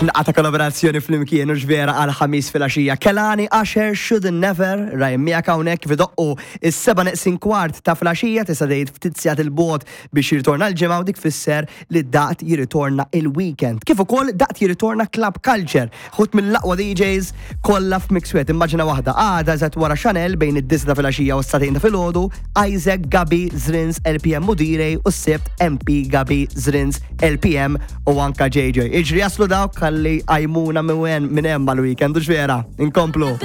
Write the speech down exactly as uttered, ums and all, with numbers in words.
X'naqta kollaborazzjoni flimkien u vera għal Ħamis filgħaxija. Kehlani, Usher, Should Never, Ryan miegħek hawnhekk f'iddoqqu is-seba' neqsin kwart ta' filgħaxija, tista' tgħid ftit sigħat 'il bogħod biex jirritorna l-ġimgħa u dik fisser li daqt jirritorna il-weekend. Kif ukoll daqt jirritorna Club Culture, ħut mill-aqwa D Js kollha f'mix wieħed. Immaġina waħda, għada eżatt wara Chanel bejn id-disgħa ta' filgħaxija u s-sagħtejn ta' filgħodu, Isaac, Gabi, Zrins, L P M u D-Ray u s-Sibt M P, Gabi, Zrins, L P M u anka J J. Iġri jaslu dawk kalli għajmuna minn minn hemm mal-weekend u vera, inkomplu.